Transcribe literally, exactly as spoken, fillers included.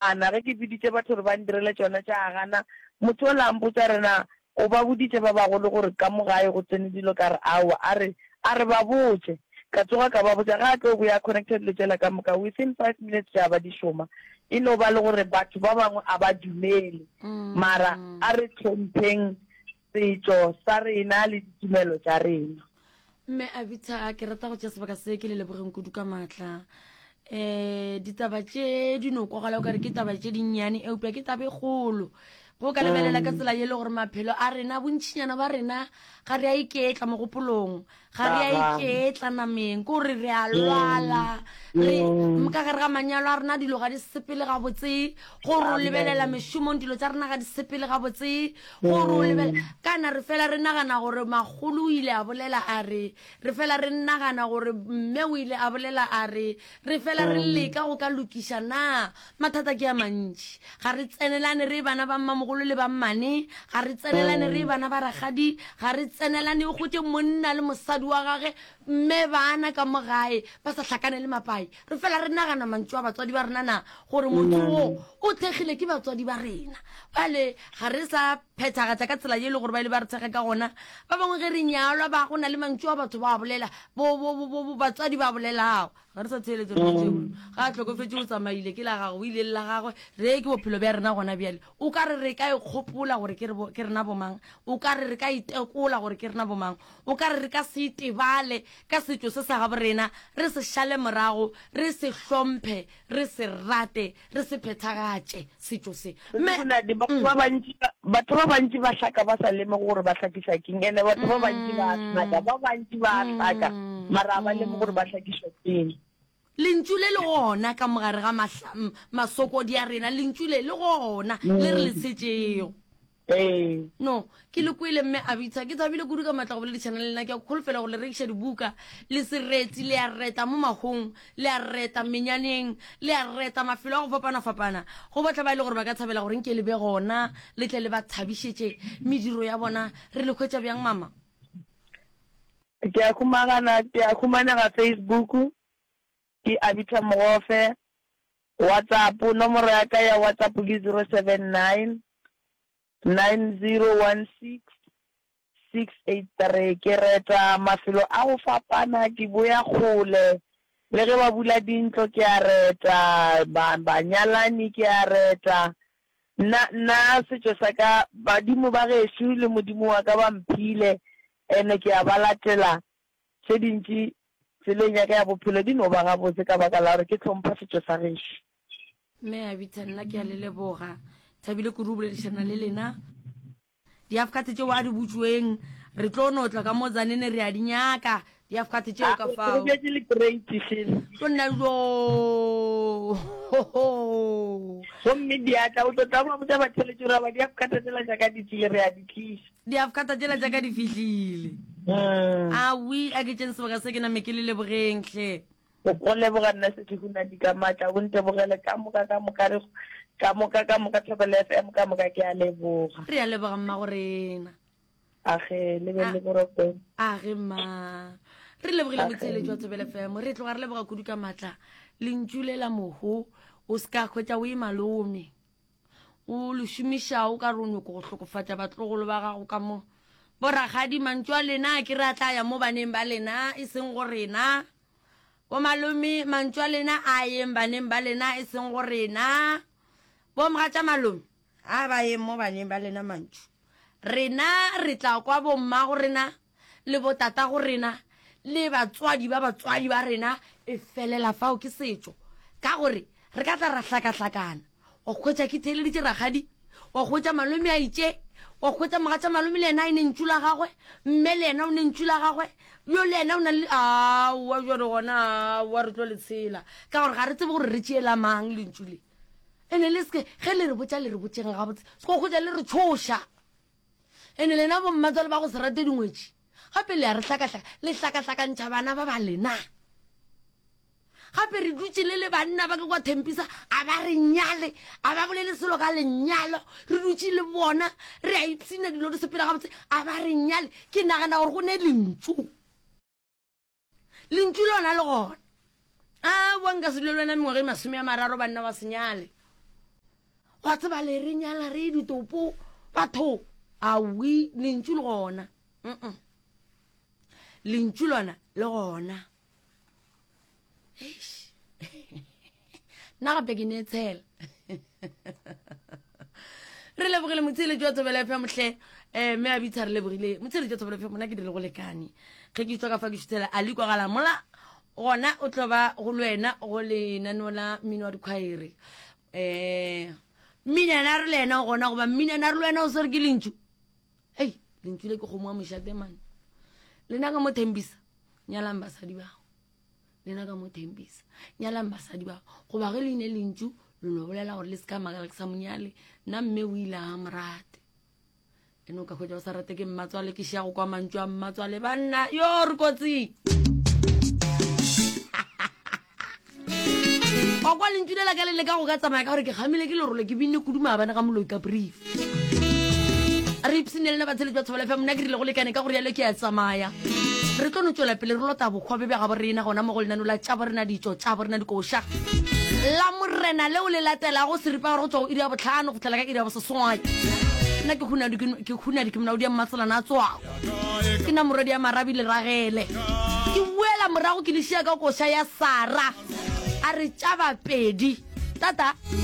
Gana ge ke biditše batho gore ba ndirele tšona tša gana, motho ola a mpotša re na o ba boditše ba bagolo gore ka mo gae go tsene dilo, ka re aowa, a re a re ba botše, ka tsoga ka ba botša, ge a tlo boya a connecta dilo tšela ka moka within five minutes tša ba di šoma. E no ba le gore batho ba bangwe a ba dumele, mara a re hlompheng setšo sa rena le ditumelo tša rena. Mme Abita, ke rata go tšea sebaka se ke le lebogeng kudu ka maatla. Um ditaba tše di no kwagala o kare ke taba tše dinnyane, eupša ke taba e kgolo. Go ka lebelela ka tsela ye le gore maphelo a rena, bontšinyana ba rena ga re a iketla mogopolong, ga re a iketla nameng, ke gore re a lwala, re ka gare ga manyalo a rena dilo ga di sepele gabotse, gore o lebelela mešomong dilo tša rena ga di sepele gabotse, gore o lebelela kana re fela re nagana gore makgolo o ile a bolela a re, re fela re nagana gore mme o ile a bolela a re, re fela re leka go ka lokiša na mathata ke a mantši. Ga re tsenelane re bana ba mmamogolo le ba mmane, ga re tsenelane re bana ba rakgadi, ga re tsenelane o hwetše monna le mosadi wa gage mme bana ka mo gae ba sa hlakane le mapai. Re fela re nagana mantšu a batswadi ba rena na gore motho wo o thekgile ke batswadi ba rena. Bjale ga re sa phethagatša ka tsela ye e le gore ba ile ba re thekga ka gona. Ba bangwe ge re nyalwa ba go na le mantšu a batho ba bolela, bo, bo, bo, bo, bo batswadi ba bolelago. Ga re sa theeletša dilo tšeo. Ga a hlokofetše o tsamaile, ke la gagwe, o ile le la gagwe. Re ke bophelo bja rena gona bjale. O ka re re ka ikgopola gore ke re bo, ke rena bomang? O ka re re ka itekola gore ke rena bomang? O ka re re ka se itebale ka setšo se sa gabo rena, re se šale morago, re se hlomphe, re se rate, re se phethagatše setšo se? Mme, Sekunadi, batho ba bantši ba, batho ba bantši ba hlaka ba sa lemoge gore ba hlakišwa keng, ene batho ba bantši ba hlaka, ba bantši ba hlaka, mara ga ba lemoge gore ba hlakišwa keng. Lentšu le le gona ka mogare ga mahla, masokodi a rena, lentšu le le gona le re le tshetšego. Ee. No, ke le kwele mme Abitha, ke thabile kudu ka matla go boledišana le lena. Ke a kholofela gore le rekiša dibuka, le sereti, le a reta mo mahong, le a reta menyaneng, le a reta mafelo a go fapana-fapana. Go bohle ba e le gore ba ka thabela gore nke le be gona, le tle le ba thabišetše mediro ya bona. Re le hwetša bjang, mama? Ke a humagana, ke a humanega Facebook, ke Abitha Mogofe. WhatsApp, nomoro ya ka ya WhatsApp ke zero seven nine, nine zero one six, six eight three. Ke reta mafelo a go fapana, ke boya kgole, le ge ba bula dintlo ke a reta, ba, banyalani ke a reta. Nna, nna setšo sa ka, badimo ba gešo le modimo wa ka ba mphile, ene ke a ba latela. Tše dintši tseleng ya ka ya bophelo di no ba gabotse ka baka la gore ke hlompha setšo sa gešo. Mme Abitha, nna ke a le leboga. Thabile kudu go boledišana le lena. Diafkate tšeo a di butšweng, re tlo no tla ka mo Tzaneen re a di nyaka. Diafkate tšeo ka fao. Re bjetše le crate šele. Tlo nna jo. Gomme diatla, o tlo tla ba botša batheeletši gore ba diafkate tšela tša ka di tlile, re a di tliša. Diafkata tšela tša ka di fihlile. Mm. Awi, a ke tšeng sebaka se ke name ke le lebogeng hle. Go leboga nna Sethihunadi ka maatla, o ntebogele ka moka ka moka re ka moka ka moka Thobela F M ka moka ke a leboga. Re a leboga mma go rena. Age le be le boroko. Age mma. Re lebogile motheeletši wa Thobela F M. Re tloga re leboga kudu ka maatla. Lentšu le la mohu o se ka hwetša o e malome. O le šomiša o ka re o nyoko go hlokofatša batlogolo ba gago ka mo. Borakgadi mantšu a lena ke re a tla ya mo baneng ba lena e seng go rena. Bo malome mantšu a lena a yeng baneng ba lena e seng go rena. Bo mogatša malome a ba yeng mo baneng ba lena mantšu. Rena re tla kwa bo mmago rena le bo tatago rena le batswadi ba batswadi ba rena e felela fao ke setšo. Ka gore re ka tla ra hlakahlakana. Wa hwetša ke theeleditše rakgadi, wa hwetša malome a itše, wa hwetša mogatša malome le yena a ne ntšu la gagwe, mme le yena o ne ntšu la gagwe, yo le yena o na le aowa jwale gona aowa re tlo le tshela. Ka gore ga re tsebe gore re tšeela mang lentšu le. Ene le seke ge le re botša le re botšeng gabotse, se ko hwetša le re tšhoša. Ene lena bo mmatswale ba go se rate dingwetši, gape le a re hlakahlaka, le hlakahlakantšha bana ba ba lena. Gape re dutše le le banna ba ke kwa Thempisa, a ba re nyale, a ba bolele selo ka lenyalo, re dutše le bona, re a ipshina dilo di sepela gabotse, a ba re nyale. Ke nagana gore go ne lentšu. Lentšu lona le gona. A boa nka se dule le wena mengwaga e masome a mararo banna wa se nyale. Wa tseba le re nyala re ditopo batho. Awi lentšu le gona. Mm. Lentšu lona le gona. Eish. Nna gape ke ne tshela. Re lebogile motsheletši wa Thobela F M hle. Eh, mme a bitsa re lebogile motsheletši wa Thobela F M, nna ke dirile go lekane. Ge ke tswa ka fa ke šuthela a le kwagala mola gona o tlo ba go le wena go lenaneo la mmino wa dikhwaere. Eh, mminana re le yena gona goba mminana re le wena o swere ke lentšu. Ei, lentšu le ke kgomo wa mošate mane. Lena ka mo thembisa, nyalang basadi bao. Lena ka mo thembisa, nyalang basadi bao. Goba ge le ine lentšu, le no bolela gore le se ka makala ke sa monyale, nna mme o ile a morate. Ene o ka hwetša o sa rate ke mmatswale, ke šia go kwa mantšu a mmatswale banna, yo re kotsing. Wa kwa lentšu le la ka le leka go ka tsamaya ka gore ke kgamile ke lerole ke binne kudu maabane ga moloi ka brief. Re ipsene lena batsheletši ba Thobela F M, nna ke rile go lekane ka gore yalo ke a tsamaya. Re tlo no tšwela pele re lota bokgwa bja gabo rena gona mo go lenano la tša borena ditšo tša borena dikoša la morena leo le latelago seripa gore go tšwa go iri ya bohlano go fihlela ka iri ya boseswai. Nna ke hunadi ke hunadi ke molaodi ya mmatselana a tswako ke na morwedi ya marabi le ragele ke boela morago ke le šia ka koša ya Sara a re tša bapedi tata.